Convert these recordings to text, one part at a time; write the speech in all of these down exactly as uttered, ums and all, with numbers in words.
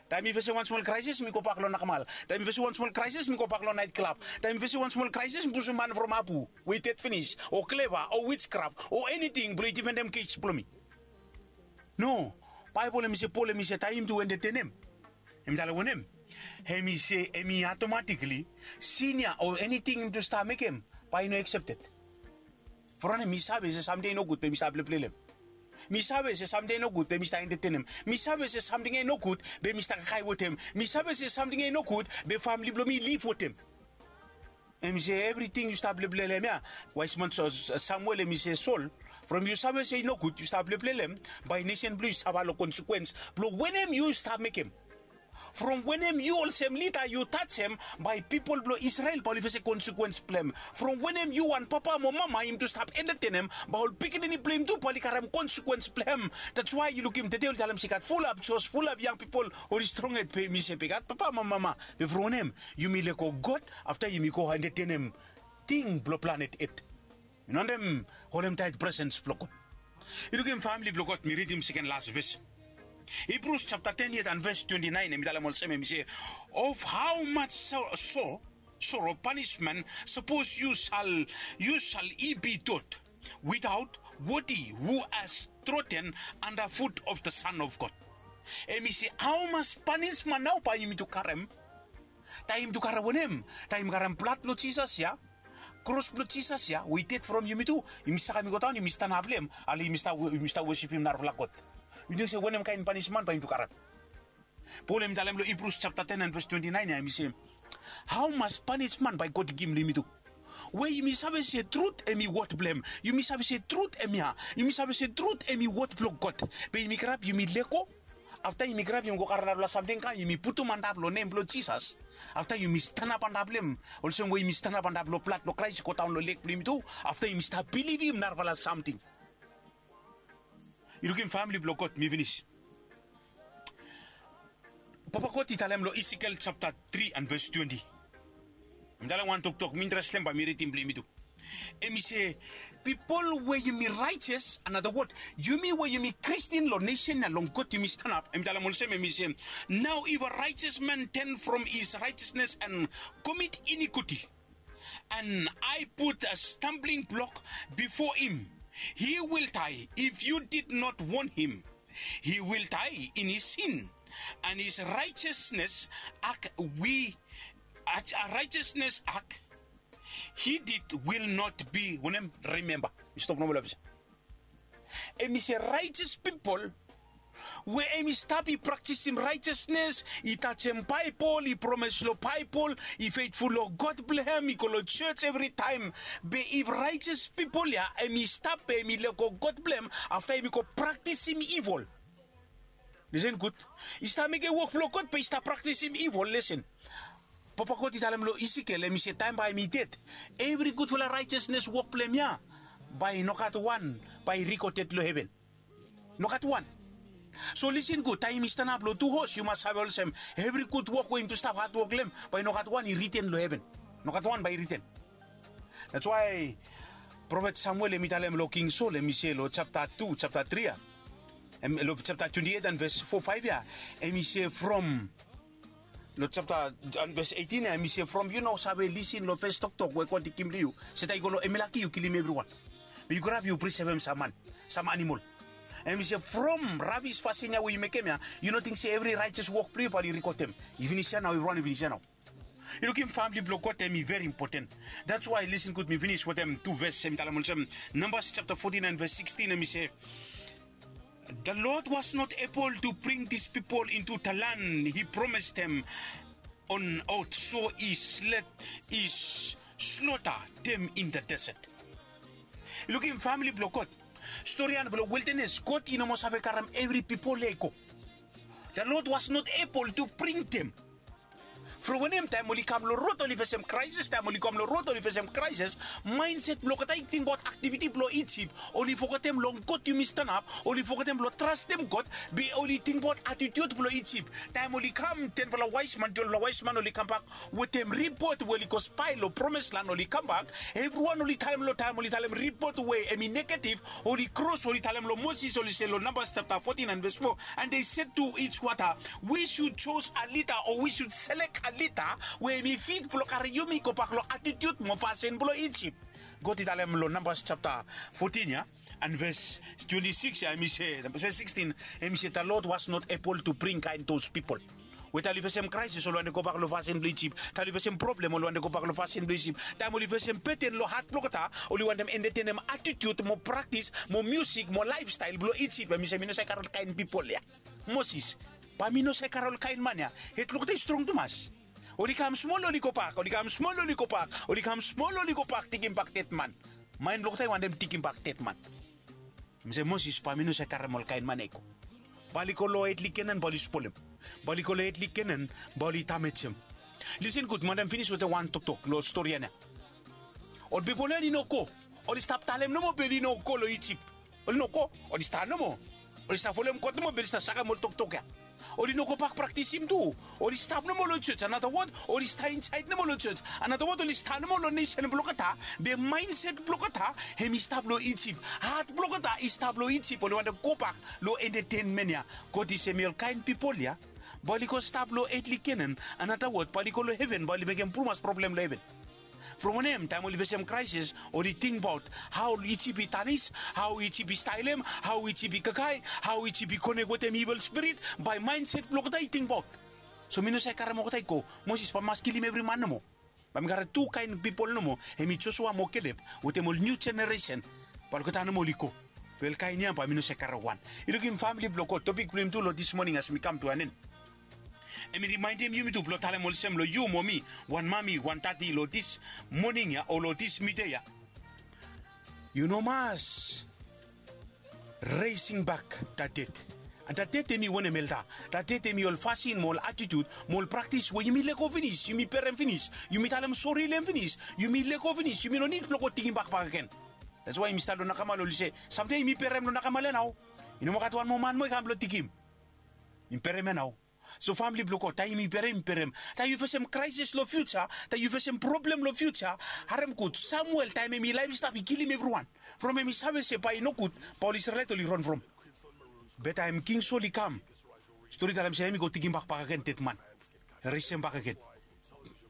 Taem mi fesem wan smol kraesis, mi gobak long nakamal. Taem mi fesem wan smol kraesis, mi gobak long naet klab. Taem mi fesem wan smol kraesis, mi pusum man from apu we i ded finis, o kleva, o wijkraf, o eniting blong i difendem kes blong mi. No. Baebol hem i se Pol hem i se taem yumi tu entetenem, hem i talem wanem? Hem i se hem i atomatikli sin ya o eniting yumi tu stap mekem bae i no aksepted. From wanem? Mi save se samting ya i nogud be mi stap pleplelem. Mi save se samting ya i nogud be mi stap entetenem. Mi save se samting ya i nogud be mi stap kakae wetem. Mi save se samting ya i nogud be famle blong mi i liv wetem. Hem i se evriting yu stap pleplelem ya, waesman Samuel hem i se Sol, from yu save se i nogud yu stap pleplelem, bae nesen blong yu i safa long konsekuens blong wanem yu stap mekem. From wanem yu olsem lida yu tajem, bae pipol blong Isrel bae oli fesem konsekuens blong hem. From wanem yu wan papa mo mama yumi tu stap entetenem, bae ol pikinini blong yumi tu bae oli karem konsekuens blong hem. That's why yu lukim tede oli talem se i gat fulap jos, fulap yang pipol oli strong hed be mi se be i gat papa mo mama. Be from wanem? Yumi lego God, afta yumi go entetenem ting blong planet Earth. Yu no wantem holem taet presens blong God. Yu lukim famle blong God, mi ridim seken las ves. Hibrus japta ten yet and ves twenti naen, hem i talem olsem, hem i se, of how much so, so, sorrow punishment suppose you shall, you shall he be taught without worthy who has trodden under foot of the Son of God. Hem i se, how much punishment nao bae yumi tu karem? Taem yumi tu karem wanem? Taem yumi karem blad blong Jisas ya, kros blong Jisas ya we i ded from yumi tu, yumi sakem i godaon, yumi stanap long hem, ale yumi stap, yumi stap wosipim narafala god. Yu ting se wanem kaen panisman bae yumi tu karem? Pol hem i talem long Hibrus japta ten and ves twenti naen ya, hem i se, hao mas panisman bae God i givim long yumi tu? We yumi save se trut hem i wod blong hem. Yumi save se trut hemia. Yumi save se trut hem i wod blong God. Be yumi grab, yumi lego. Afta yumi grab, yumi go karem narafala samting kam, yumi putum antap long nem blong Jisas. Afta yumi stanap antap long hem, olsem we yumi stanap antap long blad blong Kraes i godaon long leg blong yumi tu. Afta yumi stap bilivim narafala samting. Yu lukim famle blong God, mi finis. Papa God i talem long Esekiel japta tri and ves twenti. Mi talem wan toktok, mi interestem bae mi ridim blong yumi tu. Hem i se, pipol we yumi raejes, another word, yumi we yumi Kristin long nesen ya, long God yumi stanap. Hem i talem olsem, hem i se, now if a righteous man turn from his righteousness and commit iniquity, and I put a stumbling block before him, he will die. If you did not warn him, he will die in his sin, and his righteousness act we, a righteousness act he did will not be, wanem, remember. Mi stop nomo long ples ya. Hem i se raejes pipol we hem i stap i praktisim raejesnes, i tajem Baebol, i promes long Baebol, i fetful long God blong hem, i go long jos evritaem. Be if raejes pipol ya hem i stap be hem i lego God blong hem, afta hem i go praktisim ivol. Lisen gud. I stap mekem wok blong God be i stap praktisim ivol. Lisen. Papa God i talem long Esekiel, hem i se taem bae hem i ded, evri gudfala raejesnes wok blong hem ya, bae nogat wan bae i rikoded long heven. Nogat wan. So lisen gud, taem yumi stanap long tu hos, yu mas save olsem, evri gud wok we yumi tu stap hadwok long hem, bae nogat wan i riten long heven. Nogat wan bae i riten. That's why profet Samuel hem i talem long King Sol, hem i se long japta tu, japta tri ya, hem, long japta twenti eit and ves fo, faef ya, hem i se from, long japta, and ves eitin ya, hem i se from yu no save lisin long fes toktok we God i givim long yu, se taem i go long Amalek yu kilim evriwan. Be yu grab yu prisevem sam man, sam anamol. Hem i se from rabis fasin ya we yu mekem ya, yu no ting se evri raejes wok blong yu bae oli rikodem. I finis ya nao, evriwan i finis ya nao. Yu lukim famle blong God, hem i veri impoten. That's why, lisen gud, mi finis wetem tu ves, hem i talem olsem, Nambas japta fotin and ves sikstin, hem i se, the Lord was not able to bring these people into the land he promised them on oath, so he slet, he slaughter them in the desert. Yu lukim famle blong God, storian blong wildanes, God i no moa save karem evri pipol ya i go. The Lord was not able to bring them. From wanem? Taem oli kam long rod oli fesem kraesis, taem oli kam long rod oli fesem kraesis, maenset blong olgeta i tingbaot aktiviti blong Ijip. Oli fogetem long God yumi stanap, oli fogetem blong trastem God, be oli tingbaot atitiut blong Ijip. Taem oli kam, tenfala waesman, twelvefala waesman oli kambak wetem ripot we oli go spae long promes lan, oli kambak, evriwan oli talem long taem oli talem ripot we hemi negetif, oli kros, oli talem long Moses, oli se long Nambas japta fotin and ves fo, and they said to each wata, we should chose a leader, o we should selek a leader we hemi fit blong karem yumi gobak long atitiut mo fasin blong Ijip. God i talem long Nambas japta fotin ya, and ves twenti sikis ya, hemi se, ves sikisin, hemi se, the Lord was not able to bring kaen those pipol. We taem oli fesem kraesis oli wantem gobak long fasin blong Ijip. Taem oli fesem problem oli wantem gobak long fasin blong Ijip. Taem oli fesem beten long hat blong olgeta, oli wantem entetenem atitiut mo praktis mo miusik mo laefstael blong Ijip. Hemi se mi no save karem ol kaen pipol ya. Moses, bae mi no save karem ol kaen man ya. Het blong olgeta i strong tumas. Oli kam smol oli gobak, oli kam smol oli gobak, oli kam smol oli gobak, tigimbak ded man. Maen blong olgeta i wantem tigimbak ded man. Hemi se, Moses, bae mi no save karem ol kaen man ya i go. Bae oli go long etli Kenan bae oli spolem. Bae oli go long etli Kenan bae oli damejem. Lisen gud, mi wantem finis wetem wan toktok long stori ya nao. Ol pipol ya oli no go. Oli stap talem nomo be oli no go long Ijip. Oli no go. Oli stap nomo. Oli stap folem God nomo be oli stap sakem ol toktok ya. Oli no gobak praktisim tu. Oli stap nomo long jos. Another word, oli stap insaed nomo long jos. Another word, oli stap nomo long nesen blong olgeta. Be maenset blong olgeta hemi stap long Ijip. Hat blong olgeta i stap long Ijip. Oli wantem gobak long entetenmen ya. God i se, mi ol kaen pipol ya, bae oli go stap long etli Kenan. Another word, bae oli go long heven, bae oli mekem tumas problem long heven. From wanem? Taem oli fesem kraesis oli tingbaot hao Ijip i tanis, hao Ijip i staelem, hao Ijip i kakae, hao Ijip i konek wetem ivil spirit. Bae maenset blong olgeta i tingbaot, so mi no save karem olgeta i go. Moses, bae mi mas kilim evri man nomo. Bae mi karem tu kaen pipol nomo, hemi Josua mo Kelep, wetem ol niu jeneresen. Bae olgeta nomo oli go. Be ol kaen ya bae mi no save karem wan. I lukim famili blong God, topik blong yumi tu long dis moning as mi kam tu an en, hemi rimaenem yumi tu blong talem olsem long yu mo mi, wan mami, wan dadi, long dis moning ya o long dis midia ya, yu no mas raising back that debt. And that debt hemi wanem, elda? That debt hemi ol fasin mo ol atitiut mo ol praktis we yumi lego finis, yumi berem finis, yumi talem sori long hem finis, yumi lego finis, yumi no nid blong go tigimbak bakegen. That's why yumi stap long nakamal, oli se, samtaem yumi berem long nakamal ya nao. I no moa gat wan moa man moa i kam blong tigim. Yumi berem ya nao. So famili blong God, taem yumi berem, yumi berem. Taem yu fesem kraesis long fiuja, taem yu fesem problem long fiuja, harem gud. Samuel, taem hemi laef i stap, i kilim evriwan. From hemi save se bae i nogud, bae ol Isrelaet oli ron from. Be taem King Sol i kam, stori talem se hemi go tigimbak bakegen ded man. Resem bakegen.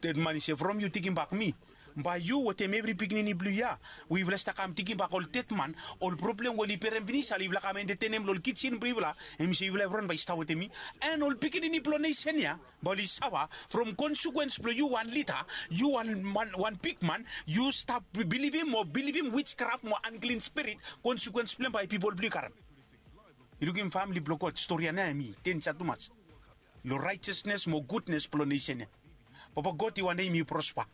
Ded man i se, from yu tigimbak mi, bae yu wetem evri pikinini blong yu ya, we yufala stap kam tigimbak ol ded man, ol problem we oli berem finis, oli yufala kam entetenem long ol kijen blong yufala, hemi se yufala evriwan bae i stap wetem mi. And ol pikinini blong nesen ya bae oli safa from konsekwens blong yu wan lida, yu wan, wan, wan bigman, yu stap bilivim mo bilivim wijkraf mo anklin spirit, konsekwens blong hem bae pipol blong yu karem. Yu lukim famili blong God, stori ya nao hemi denja tumas long raejasnes mo gudnes blong nesen ya. Papa God i wantem yumi prospa,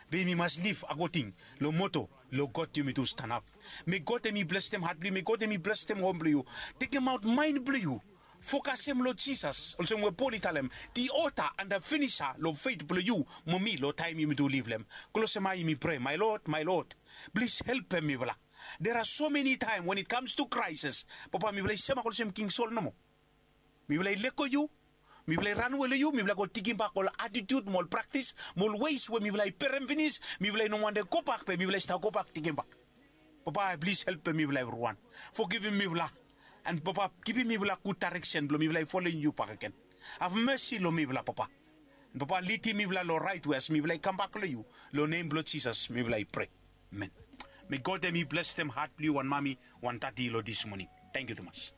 be yumi mas liv akoding long moto, long God yumi tu stanap. Me God hemi blesem hat blong yu, me God hemi blesem hom blong yu. Tekemaot maen blong yu, fokasem long Jisas, olsem we Pol i talem, the author and the finisher long fet blong yu mo mi, long taem yumi tu liv long hem. Klosem ae yumi prea, my Lord, my Lord, plis helpem mifala. There are so many time when it comes to crisis, Papa, mifala i semak olsem King Sol nomo. Mifala i lego yu, mifala i ranwe long yu, mifala i go tigimbak ol atitiut mo ol praktis mo ol weis we mifala i berem finis, mifala i no wantem gobak be mifala i stap gobak tigimbak. Papa, plis helpem mifala evriwan. Fogivim mifala. And Papa, givim mifala gud daereksen blong mifala i folem yu bakegen. Have mercy long mifala, Papa. And Papa, lidim mifala long raet we as mifala i kambak long yu. Long nem blong Jisas mifala i prea. Amen. Me God hemi blesem hat blong yu wan mami, wan dadi long dis moning. Tangkiu tumas.